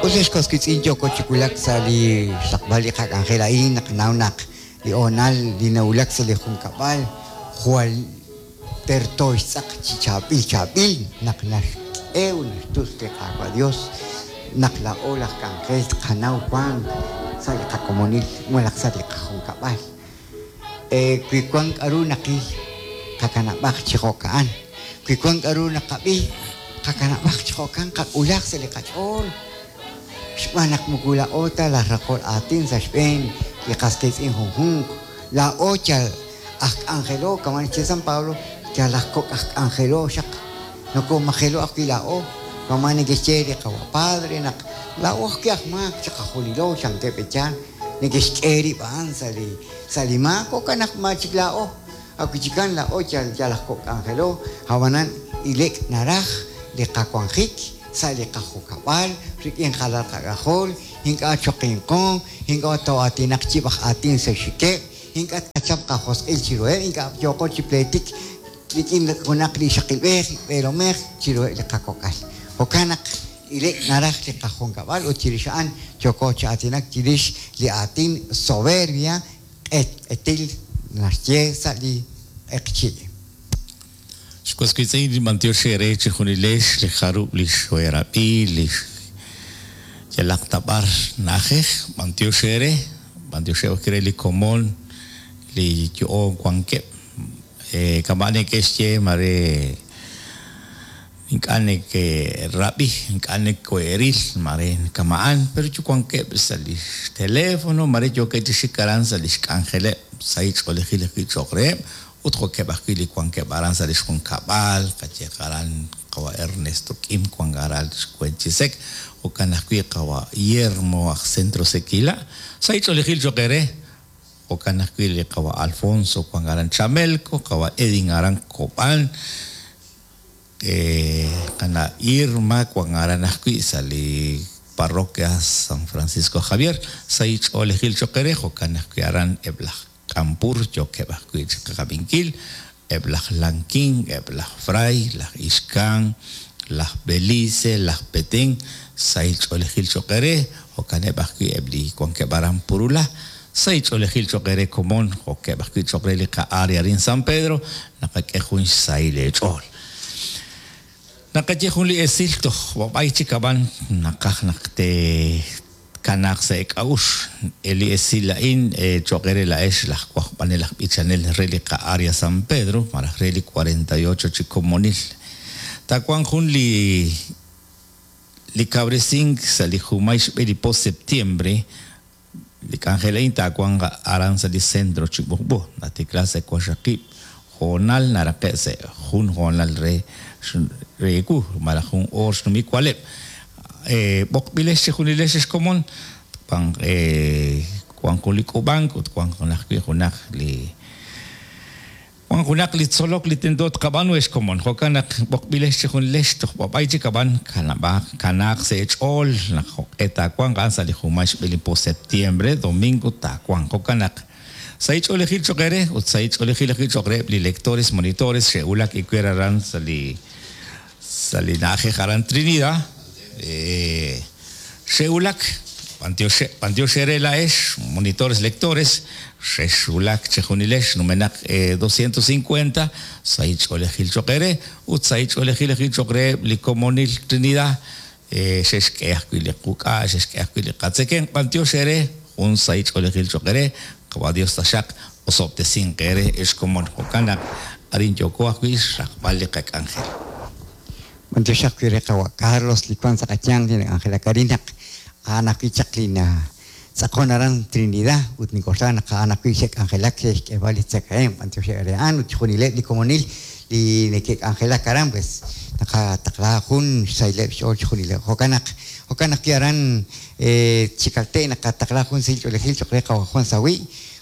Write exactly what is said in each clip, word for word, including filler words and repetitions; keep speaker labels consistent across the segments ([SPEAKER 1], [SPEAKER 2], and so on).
[SPEAKER 1] Us ex was wiitz'in yooko chi wulak sa' li xraqb'al li qak'anjel a'in naqanaw naq li hoonal li nawulak sa' li junkab'al jwal terto xtz'aq chi chaab'il chaab'il naq naxk'e ut naxtus li Qaawa' Dios naq laa'o laj k'anjel tqanaw wank sa' li qakomonil malaj sa' li qajunkab'al. Wi wan k'a'ru naqil qakanab'aq chi jo'ka'an, wi wan k'a'ru naqab'i qakanab'aq chi jo'kan qak'ulaj sa' li qach'ool xb'aan naq moko laa'o ta laj raqol aatin sa' xb'een li qas qiitz'in junjunq laa'o yal aj k'anjelo kama' naxye San Pablo yal aj kok' aj k'anjelo xaq nokomajelo ajwi' laa'o kama' neke'xye li qawa' padre naq laa'o ajwi' aj maak chiqajunilo chankeb' echaal neke'xk'e rib' a'an sa' li sa' li maak jo'kan naq ma chik laa'o ajwi' chikan laa'o yal yal aj kok' k'anjelo ab'anan ilek' naraj li qawanjik sa' li qajukab'al rik'in qalal qak'ajol ink'a' choqinqo ink'a' too'aatinaq yib' aj aatin sa' xikeb' ink'a' tqachap qajosq'il chiruheb' ink'a' yooqo chi pleetik rik'in junaq li ixaqilb'ej b'eelomej chiruheb' li qakok'al jo'kan naq ilek' naraj li qajunkab'al ut chirix a'an yooko chi aatinak chirix li aatin soberbia q'etq'etil naxye sa' li q'eqchi'.
[SPEAKER 2] Xwas wiitz'in b'antiox eere chijunilex li jarub' li xweerab'i li yalaq tab'ar na'ajej b'antiox eere b'antiox re li komon li yo'on wankeb' kama' neke'xye mare ink'a' neke'rab'i ink'a' neke'ril mare kama'an pero wankeb' sa' li teléfono mare yookeb' chi xik aran sa' li xk'anjeleb' sahil ch'oolejil ajwi' cho'q reheb' ut jo'keb' ajwi' li wankeb' aran sa' li xjunkab'al qayeq aran qawa' Ernesto Kim wank aran Xcuenchisec jo'kan ajwi' qawa' Guillermo aj Centro Sequila sahil ch'oolejil cho'q eere jo'kan ajwi' li qawa' Alfonso wank aran Chamelco qawa' Edin aran Cobán qana' Irma wank aran ajwi' sa' li parroquia San Francisco Javier sahil ch'oolejil cho'q eere jo'kan ajwi' aran eb' laj Kampur yookeb' ajwi' chi qaqab'inkil eb' laj Lanquín eb' laj Fray laj Ixcán laj Belice laj Petén sahil ch'oolejil cho'q eere jo'kaneb' ajwi' eb' li wankeb' aran Purula sahil ch'oolejil cho'q eere komon jo'keb' ajwi' cho'q re li qa'área arin San Pedro naqak'e jun xsahil eech'ool. Naqaye jun li esil toj b'ab'ay chik ab'an naqaj naq te kanaaq sa' ek'a'ux li esil a'in cho'q eere la'ex laj wajb'anel aj b'ichanel re li qa'área San Pedro malaj re li cuarenta y ocho chi komonil taawanq jun li li kabresink sa' li jumay xb'e li po septiembre li k'anjel a'in taawanq aran sa' li centro chi b'uqb'u natikla sa' waqxaqib' hoonal naraqe' sa' jun hoonal re reeku malaj jun oor xnumik waleb' b'oqb'ilex chijunilex xkomon wan wan jun li k'ub'ank ut wan ajwi' junaq li wan junaq li tzolok li tento tqab'anu xkomon jo'kan naq b'oqb'ilex chijunilex toj b'ab'ay chik ab'an kanab'aq kanaaq sa' eech'ool naq jo'q'e taawanq a'an sa' li jumay xb'e li po septiembre domingo taawanq jo'kan naq sahil ch'oolejil cho'q eere ut sahil ch'oolejil ajwi' cho'q reheb' li lectores monitores xe'wulak iwer aran sa' li sa' li na'ajej aran Trinidad xe'wulak b'antiox eere la'ex monitores lectores xexwulak chijunilex numenaq doscientos cincuenta sahil ch'oolejil cho'q eere ut sahil ch'oolejil ajwi' cho'q reheb' li komonil Trinidad xexk'e ajwi' li quk'a' xexk'e ajwi' li qatzekemq b'antiox eere jun sahil ch'oolejil cho'q eere qawa' Dios taxaq osob'tesinq eere ex komon jo'kan naq arin yooko ajwi' xraqb'al li qak'anjel.
[SPEAKER 1] B'antiox ajwi' re qawa' Carlos li wan sa' qayanq li nak'anjelak arin naq a'an ajwi' chaq li natz'aqon aran Trinidad ut nink'oxla naq a'an ajwi' xe'k'anjelak xe'xk'eeb'al li tzakahemq b'antiox eere a'an ut chijunileb' li komonil li neke'k'anjelak aran pues naqataqla jun xsahileb' xch'ool chijunileb' jo'kan naq jo'kan ajwi' aran Chikalte' naqataqla jun sahil ch'oolejil cho'q re qawa' Juan Sawi'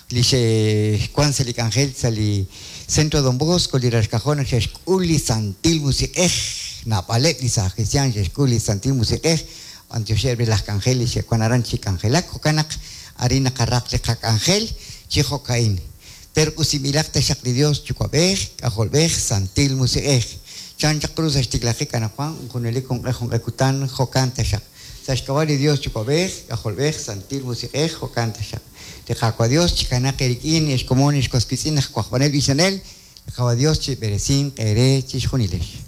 [SPEAKER 1] li xe'wan sa' li k'anjel sa' li Centro Don Bosco li raxkajol naq xe'xk'ul li Santil Musiq'ej naab'aleb' li saaj cristian xe'xk'ul li Santil Musiq'ej b'antioxeb' re laj k'anjel li xe'wan aran chi k'anjelak jo'kan naq arin naqaraq li qak'anjel chi jo'ka'in terq'usinb'ilaq taxaq li Dios Yuwa'b'ej K'ajolb'ej Santil Musiq'ej chan chaq ru sa' xtiklajik anaqwan junelik junq'e junq'e kutan jo'kan taxaq. Sa' xk'ab'a' li Dios Yuwa'b'ej, K'ajolb'ej, Santil Musiq'ej, jo'kan taxaq. Li Qaawa' Dios chikanaq eerik'in, ex komon, ex was wiitz'in, aj wajb'anel b'ichanel, li Qaawa' Dios chib'eresinq eere chixjunilex.